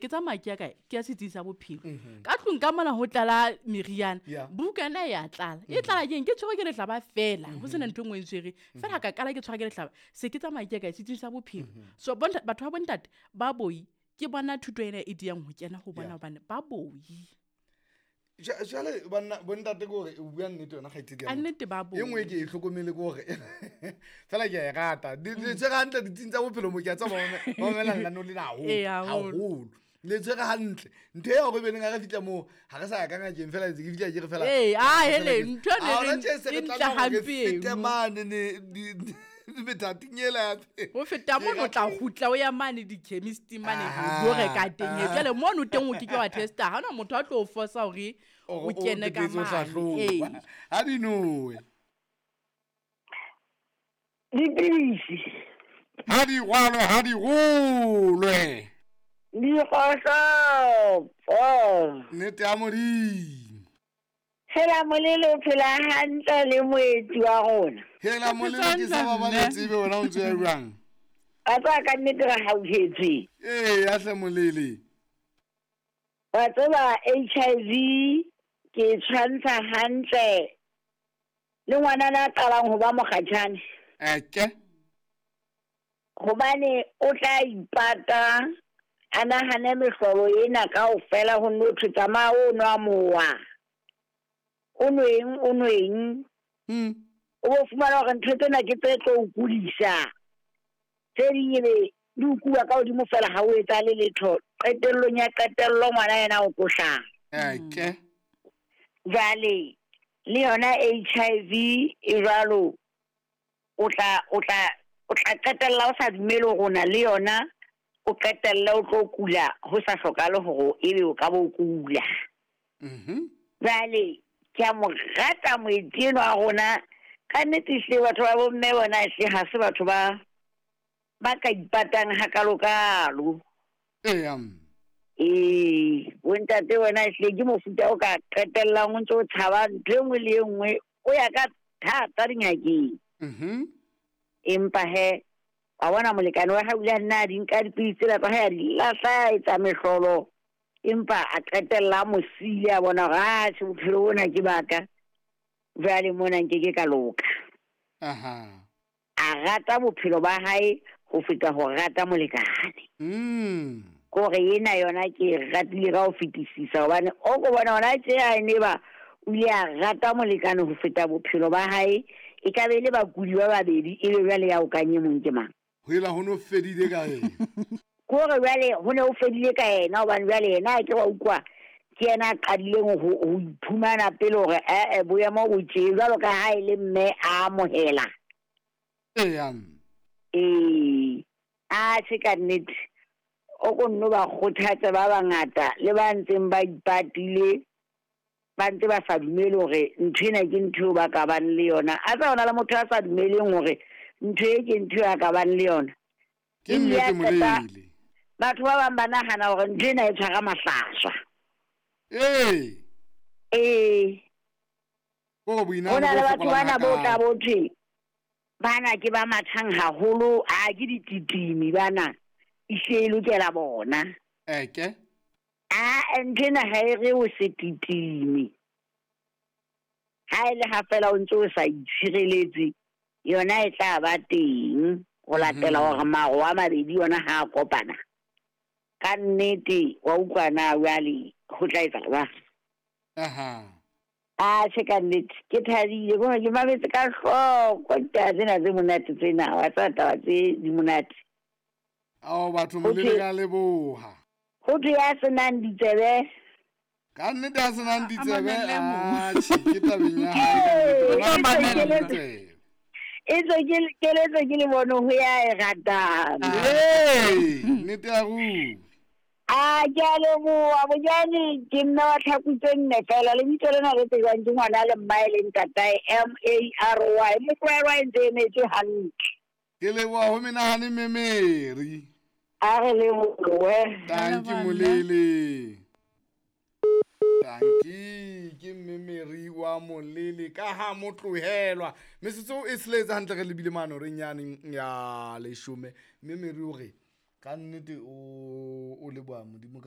ke tsamaya ke ya kae? Ke ya setsing sa bophelo. Ka tlung ka mona ho tlala meriana. Bukana ya tlala. E tlala keng? Ke tshwerwe ke lehlaba fela. Ho sena ntho e nngwe e ntshwereng. Fela ka qala ke tshwarwa ke lehlaba. Se ke tsamaya ke ya kae? Setsing sa bophelo. So batho ba bontate ba boi, ke bona thuto ena e diyang ho kena ho bona hobane ba boi. Jwale banna bontate ke hore o bua nnete yona kgaitsedi ya Ka motho. nnete ba E nngwe boi. ke e hlokomele ke hore fela ke a e rata. Le tshwere hantle ditsing tsa bophelo mo ke a tseba ba mamela lenaneo lena haholo, Ee, haholo. haholo. Le tshwere hantle. Ntho ya hore beneng ha re fihla moo, ha re sa ya ka ngakeng fela ntse ke fihla ke re fela. Ee, ah, Fela hele, ke- ntho e Ha hona reng tje se re e ntle tlameha hore re hampe eno. fete mane ne, di, methating ela ya teng. Ho feta Ke mono o tla rata- kgutla o ya mane di-chemist mane Aha, ho reka teng. aha. Jwale mono teng o ke ke wa testa. Ha hona motho a tlo o forsa hore Hore o o kene ka teketse o mane. hlahloba. Ee. Ha di nowe. Dipidisi. Ha di rwalwe, ha di rolwe. Dikgohlopo. Nnete ya Modimo. Hela Molele o phela hantle le moetsi wa rona. Hela Ke Molele ke sa hantle ba mme. tsebe wena o ntse o ya jwang? Wa tseba ka nnete re hauhetswe. Ee, ya hle Molele. Wa tseba HIV ke e tshwantsha hantle le ngwanana a qalang ho ba mokgatjhane. Eke. Hobane o tla ipata a nahane mehlolo ena kaofela ho nno thwe tsamaya o nwa mowa. O nweng, o nweng. O bo fumana hore ntho tsena ke tse tlo o kudisa. Tse ding ebe di o kuwa ka hodimo fela ha o etsahale letho. Qetellong ya qetello ngwana yena o tlo hlaha. Eke. Jwale le yona HIV e jwalo, o tla qetella o sa dumele hore o na le yona, o qetelle o tlo kula ho sa hlokahale hore ebe o ka bo kula. Jwale ke a mo rata moetsi enwa wa rona. Ka nnete ehlile batho ba bomme bona ehlile ha se batho ba ka ipatang hakalokalo. Eya. Ee, bontate bona ehlile ke mofuta o ka qetellang o ntse o tshaba ntho e nngwe le e nngwe, o ya ka thata dingakeng. Empa he, wa bona molekane wa hae o ile a nna a di nka dipidisi tsela tsa hae, a di lahla, a etsa mehlolo. Empa a qetella a mo siile, a bona hore, ah, tjhe, bophelo bona ke baka. Jwale mona nke ke ka loka. A rata bophelo ba hae ho feta ho rata molekane. Kore ena yona ke e ratile ka ho fetisisa, hobane o ko bona hona tje ha e ne ba o ile a rata molekane ho feta bophelo ba hae, e ka be e le bakudi ba babedi, e be jwale ya o kanye mong ke mang? Ho ela ho no fedile ka yena. Kore jwale ho ne ho fedile ka yena, hobane jwale yena ha ke wa utlwa ke yena a qadileng ho iphumana pele hore, boemo bo tje, jwalo ka ha e le mme a amohela. Eya. Ee, a tjhe ka nnete, o ko nno ba kgothatse ba bangata le ba ntseng ba ipatile, ba ntse ba sa dumele hore ntho ena ke ntho eo ba ka bang le yona. A tsa hona le motho a sa dumeleng hore ntho e ke ntho eo a ka bang le yona. Ke Ebile a nnete qeta Molele. Batho ba bang ba nahana hore ntho ena e tshwara mahlaswa. Ee. Ee. Ko boinahano Ho na le bo batho fokolang bana bo hakalo. tla bo thwe bana ke ba mathang haholo, a ke dititimi bana, ehlile e lokela bona. Eke. A ntho ena ha e re o se titime. Ha e le ha fela o ntse o sa itshireletse, yona e tla ba teng ho latela hore maro a mabedi yona ha a kopana. Ka nnete wa utlwa na jwale ho tla etsa jwang? A tjhe, ka nnete ke thabile hore ke mametse ka hloko ditaba tsena tse monate tsena, wa tseba taba tse di monate. Ao batho Ho Molele thwe ka leboha. Ho thwe ya senang ditsebe. Ka nnete ya senang A ditsebe, mamelle mong. atjhe, ke tabeng ya hae ka nnete. Ee, Bona e tswe mamelle keletso. ditsebe. E tswe ke keletso ke le bone ho ya e ratang. Ee, nnete ya ruri. A ke a leboha bonyane, ke mme wa tlhaku tse nne fela. Lebitso lena le tsejwang ke ngwana le mmae le ntatae, M A R Y. Motlwaelwa e ntse e emetse hantle. Ke leboha ho menahane Memeri. A re lebohe. Tanki Leboha nna. Molele. Tanki ke Memeri wa Molele ka ha motlohelwa. Metsotso e tsheletse hantle re lebile mane horeng yane ya leshome. Memeri o re ka nnete o leboha Modimo ka